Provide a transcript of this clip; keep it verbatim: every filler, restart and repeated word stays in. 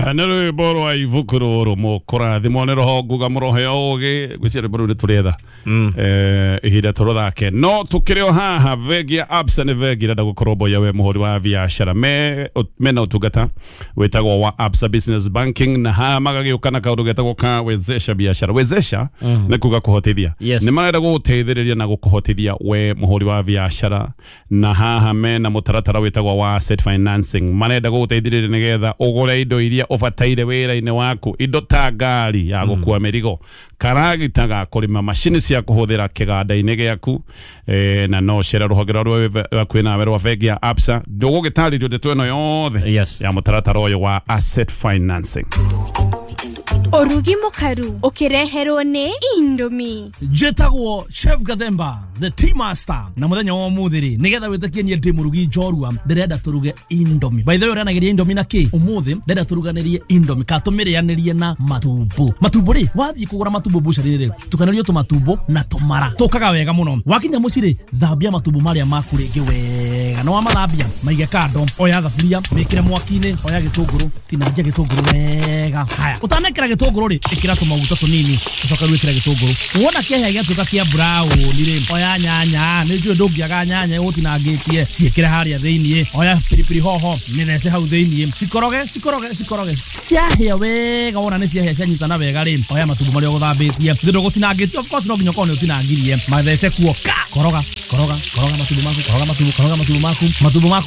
Nä rwä mbo rwa ibuku rå rå må kå rathimwo nä rå nguga må rohe å gä gwä cia rwä mbo rå u nä tå retha ihinda tå rå thake no tå kä rä o haha. Bengi ya Absa nä bengi ĩrenda gũkũrũmbũiya we mũhũri wa biacara. me mena ũtungata wĩtagwo wa Absa Business Banking, na haha magagĩũka na kaũndũ getagwo ka wezesha biashara. Wezesha nĩ kuga kũhotithia. Yes. Nĩ marenda gũgũteithĩrĩria na gũkũhotithia we mũhũri wa biacara, na haha mena mũtaratara wĩtagwo wa asset financing. Marenda gũgũteithĩrĩria nĩgetha ũgũre indo iria ũbataire wĩra-inĩ waku, indo ta ngari ya gũkua mĩrigo, karagita ga kũrĩma, macini cia kũhũthĩra kĩganda-inĩ gĩaku. eh, na no cere rũhonge rwa rwĩ nawe rwa bengi ya Absa, ndũgũgĩtarĩrio ndeto ĩno yothe Yes. ya mũtaratara ũyũ wa asset financing. Ũrugi mũkaru ũkĩreherwo nĩ Indomie. Njĩtagwo Chef Gathemba, the tea master, na mũthenya wa ũmũthĩ rĩ, nĩgetha wĩtĩkie niĩ ndĩ mũrugi njorua, ndĩrenda tũruge Indomie. By the way, ũrĩanagĩria Indomie na kĩ? Ũmũthĩ ndĩrenda tũruganĩrie Indomie kana tũmĩrĩanĩrie na matumbo. Matumbo rĩ, wathiĩ kũgũra matumbo bucari rĩ, tukanĩrio tũmatumbo na tũmara tũkaga wega mũno. Wakinya mũciĩ rĩ, thambia matumbo marĩa maku rĩngĩ wega, na wamathambia maige kando. Oya thaburia, mĩkĩre mwaki-inĩ, oya gĩtũngũrũ, tinangia gĩtũngũrũ wega. Haya, ũtanekĩra gĩtũngũrũ rĩ, ĩkĩra tũmaguta tũnini, ũcoke rĩu ĩkĩra gĩtũngũrũ. Wona kĩahĩa gĩatuĩka kĩa brown rĩ, oya nyanya, nĩ njũĩ ndũngĩaga nyanya ũtinangĩtie, ciĩkĩre harĩa thĩiniĩ. Oya pilipili hoho, mĩthece hau thĩiniĩ, cikoroge cikoroge cikoroge. Ciahĩa wega, wona nĩ ciahĩa cianyitana wega rĩ, oya matumbo marĩa ũgũthambĩtie, thĩ ndũgũtinangĩtie, of course no nginya ũkorwo nĩ ũtinangirie, mathece kuo ka. Koroga koroga koroga matumbo maku, koroga matumbo, koroga matumbo maku, matumbo maku.